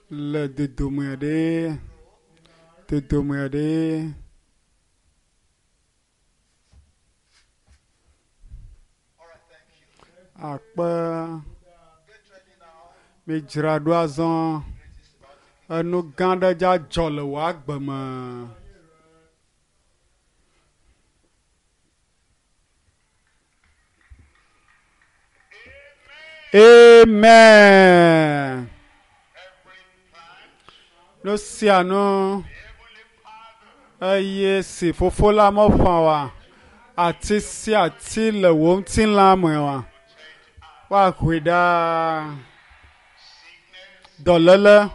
Le dodome ɖe, dodome ɖe. Akpe midzra ɖo azɔ. Enu gã aɖe dza dzɔ le wò agbe me. Amen. Nu sia nu eye si fofo la meƒã oa, ati sia ati le wò ŋutilã me oa, woahoe ɖa. Dɔléle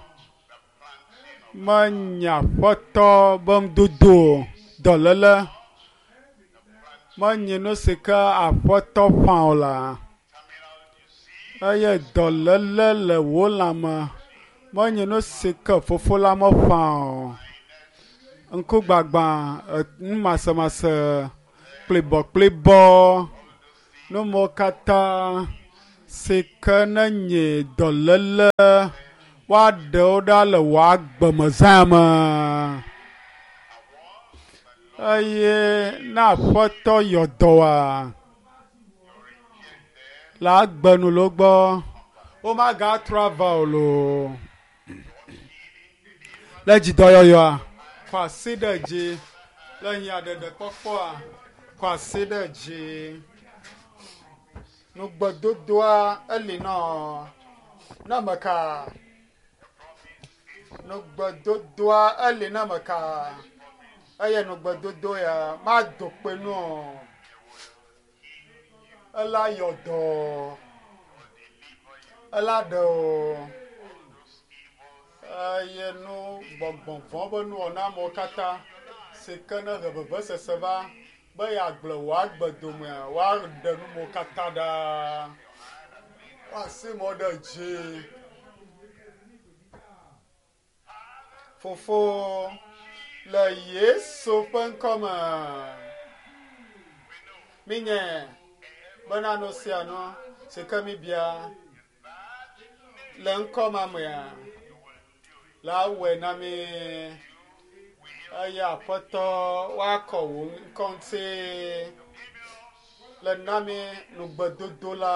menye aƒetɔ be nudodo o. Dɔléle menye nu si ke aƒetɔ ƒã o la. Eye dɔléle le wò lãme menye nu si ke fofo la meƒã o. Ŋkugbagba, numasemase, kplibɔkplibɔ, nu mawo katã si ke ne nye dɔléle woaɖe wo ɖa le wò agbemezã me. Eye ne aƒetɔ yɔ dɔ wòa, le agbe nu le wo gbɔ, womagatrɔ ava o loo. Le dzidɔyɔyɔa, kɔ asi ɖe dzi. Le nyaɖeɖekpɔkpɔa, kɔ asi ɖe dzi. Nugbedodoa eli nɔ ne ame ka? Nugbedodoa eli ne ame ka? Eye nugbedodo ya mado kpe nu o. Ela yɔ dɔ. Ela ɖe o. Eye nu gbɔgbɔ vɔ̃ be nuwɔna amewo katã si ke ne he vevesese va be yeagblẽ wò agbe domea, woaɖe nu mawo katã ɖa. Woasi mɔ ɖe dzi. Fofo, le Yesu ƒe ŋkɔ me, minye bena nu sia nu si ke mibia le ŋkɔ ma mea, la wɔe na mí. Eye Aƒetɔ, woakɔ wò ŋkɔ ŋuti le na mí nugbedodo la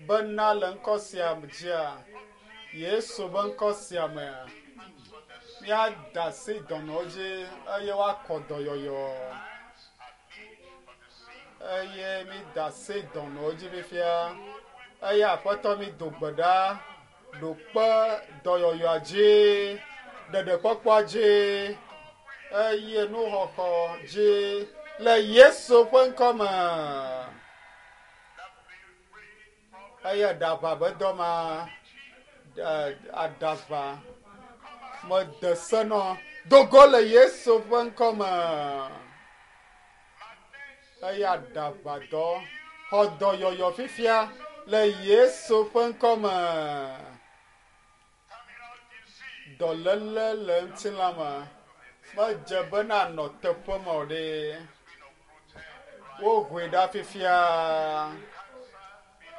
bena le ŋkɔ sia dzia, Yesu ƒe ŋkɔ sia mea, míada asi dɔnɔwo dzi eye woakɔ dɔyɔyɔ. Eye mída asi dɔnɔwo dzi fifia. Eye Aƒetɔ mído gbe ɖa ɖo kpe dɔyɔyɔa dzi, ɖeɖekpɔkpɔa dzi eye nuxɔxɔ dzi le Yesu ƒe ŋkɔ me. Eye ɖaʋa be dɔ ma, aɖaʋa mede se nɔ do go le Yesu ƒe ŋkɔ me. Eye aɖaʋa dɔ xɔ dɔyɔyɔ fifia le Yesu ƒe ŋkɔ me. Dɔléle le ŋutilã me medze be nanɔ teƒe ma o ɖe. Wohoe ɖa fifia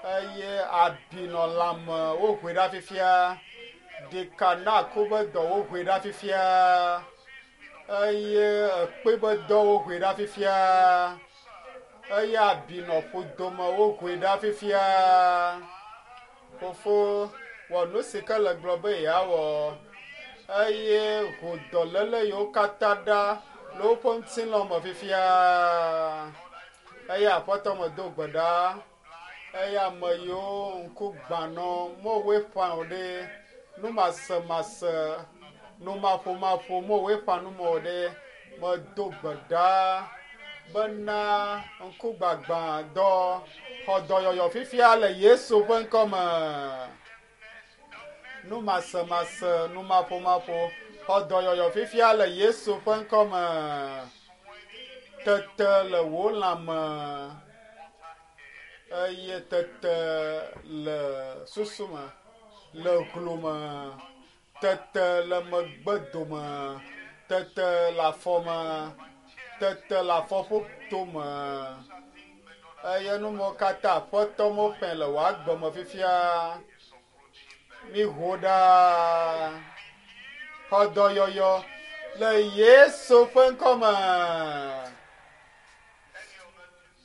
eye abi nɔ lãme wohoe ɖa fifia. Ɖeka na ku be dɔ wohoe ɖa fifia eye ekpe be dɔ wohoe ɖa fifia eye abi nɔ ƒodome wohoe ɖa fifia. Fofo, wɔ nu si ke le gblɔ be yeawɔ eye ho dɔléle yiwo katã ɖa le woƒe ŋutilã me fifia. Eye Aƒetɔ medo gbe ɖa eye ame yiwo ŋku gbã nɔ mowoe ƒã o ɖe, numasemase, numaƒomaƒo mowoe ƒã nu me o ɖe, medo gbe ɖa bena ŋkugbagba dɔ xɔ dɔyɔyɔ fifia le Yesu ƒe ŋkɔ me. Numasemase, numaƒomaƒo xɔ dɔyɔyɔ fifia le Yesu ƒe ŋkɔ me. Tete le wò lãme eye tete le susu me, le glo me, tete le megbe dome, tete le afɔ me, tete le afɔƒoto me. Eye nu mawo katã Aƒetɔ meƒãe le wò agbe me fifia. Miho ɖa. Xɔ dɔyɔyɔ le Yesu ƒe ŋkɔ me.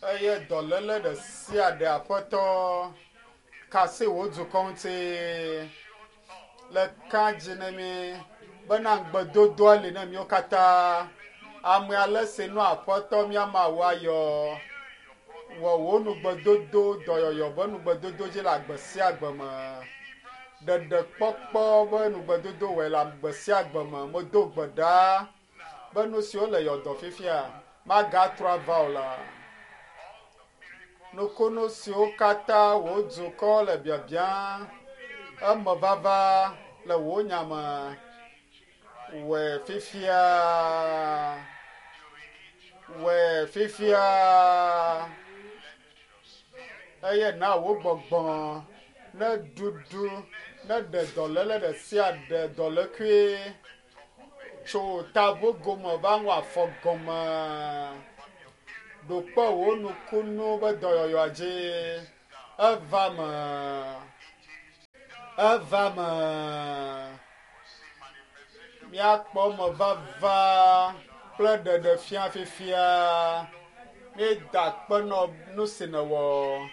Eye dɔléle ɖe sia ɖe Aƒetɔ kasi wò dukɔ ŋuti le ka dzi ne mi bena ŋugbedodoa li ne míwo katã. Ame ale si nɔ Aƒetɔ mía Mawu ayɔ wɔ wò nugbedodo dɔyɔyɔ be nugbedodo dzi le agbe sia agbe me. Ɖeɖekpɔkpɔ be nugbedodo wɔe le agbe sia agbe me. Medo gbe ɖa be nu siwo le yɔdɔ fifia magatrɔ ava o la. Nukunu siwo katã wò dukɔ le biabiam eme vava le wò nya me wɔe fifia. Wɔe fifia. Eye na wò gbɔgbɔ ne ɖuɖu ne ɖe dɔléle ɖe sia ɖe dɔlékui tso taʋogome va ŋu afɔ gɔme. Ɖo kpe wò nukunu be dɔyɔyɔa dzi. Eva me. Eva me. Míakpɔ me vava kple ɖeɖefia fifia. Míeda akpe nɔ nu si nèwɔ.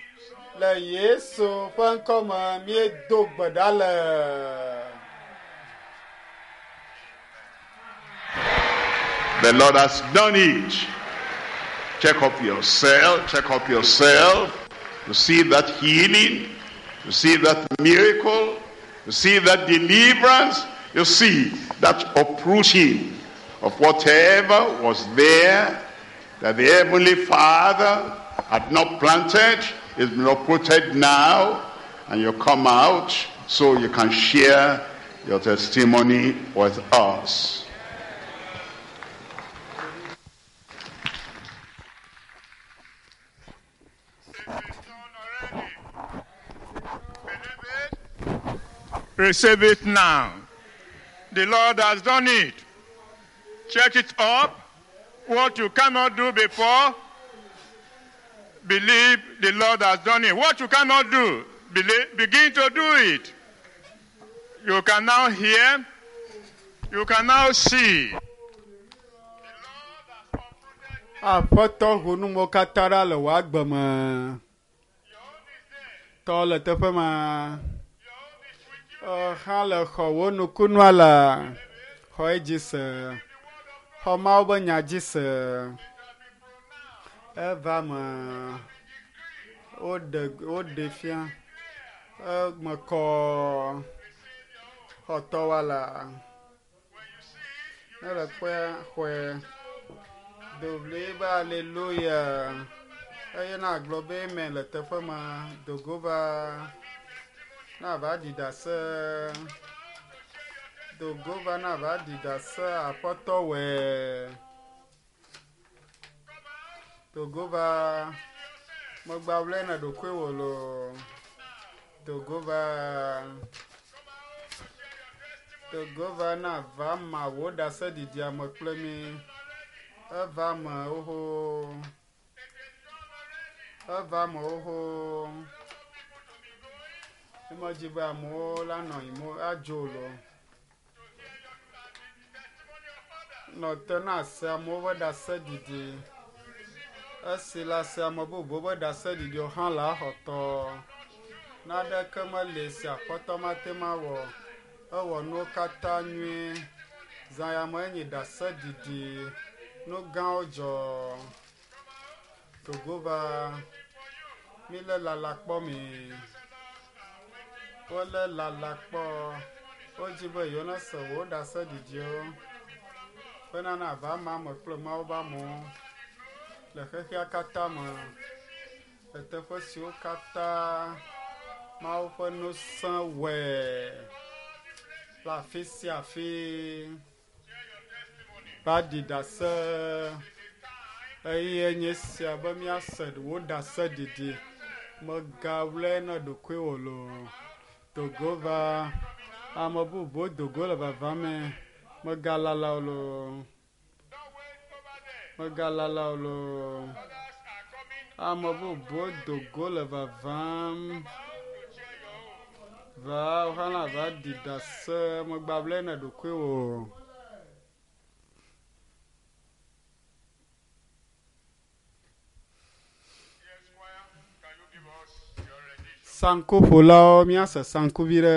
Le Yesu ƒe ŋkɔ me míedo gbe ɖa le. The Lord has done it. Check up yourself, check up yourself. You see that healing, you see that miracle, you see that deliverance, you see that uprooting of whatever was there that the Heavenly Father had not planted, is been uprooted now, and you come out so you can share your testimony with us. Receive it now. The Lord has done it. Check it up. What you cannot do before, believe the Lord has done it. What you cannot do, believe, begin to do it. You can now hear, you can now see. Aƒetɔ ho numewo katã ɖa le wò agbe me. Tɔ le teƒe ma. Hã le xɔ wò nukunua la. Xɔ edzi se. Xɔ Mawu be nya dzi se. Eva me. Woɖe woɖe fia. Eme kɔ. Xɔ tɔwa la. Ne le kpɔe xɔe. Do ɣli be aleluya. Eye na gblɔ be amen le teƒe ma. Dogo va. Na va ɖi ɖase. Dogo va na va ɖi ɖase aƒetɔ wɔe. Dogo va. Megba wlɛ na ɖokuiwò loo. Dogo va. Dogo va na va ma wò ɖaseɖiɖia me kple mi. Eva me xoxo. Eva me xoxo. Emedzi be amewo la nɔ yim adzo loo. Nɔ te na se amewo ƒe ɖaseɖiɖi. Esi la se ame bubuwo ƒe ɖaseɖiɖiwo hã la xɔtɔ. Naneke meli si aƒetɔ mate ŋu awɔ. Ewɔ nuwo katã nyuie. Zã ya me enyi ɖaseɖiɖi. Nu gãwo dzɔ. Dogo va. Mílé lala kpɔ mi. Wolé lala kpɔ. Wodzi be yewo nese wò ɖaseɖiɖiwo. Bena na va ma me kple Mawu be amewo le xexea katã me. Le teƒe siwo katã Mawu ƒe ŋusẽ wɔe le afi sia afi. Va ɖi ɖase. Eye nye sia be míase wò ɖaseɖiɖi. Megawlɛ na ɖokuiwò loo. Dogo va. Ame bubuwo dogo le vava me. Megalala o loo. Megalala o loo. Ame bubuwo dogo le vavam. Va wo hã va ɖi ɖase megbable ne ɖokuiwò. Yes, choir, can you give us your rendition? Sankuƒolawo míase sanku vi ɖe.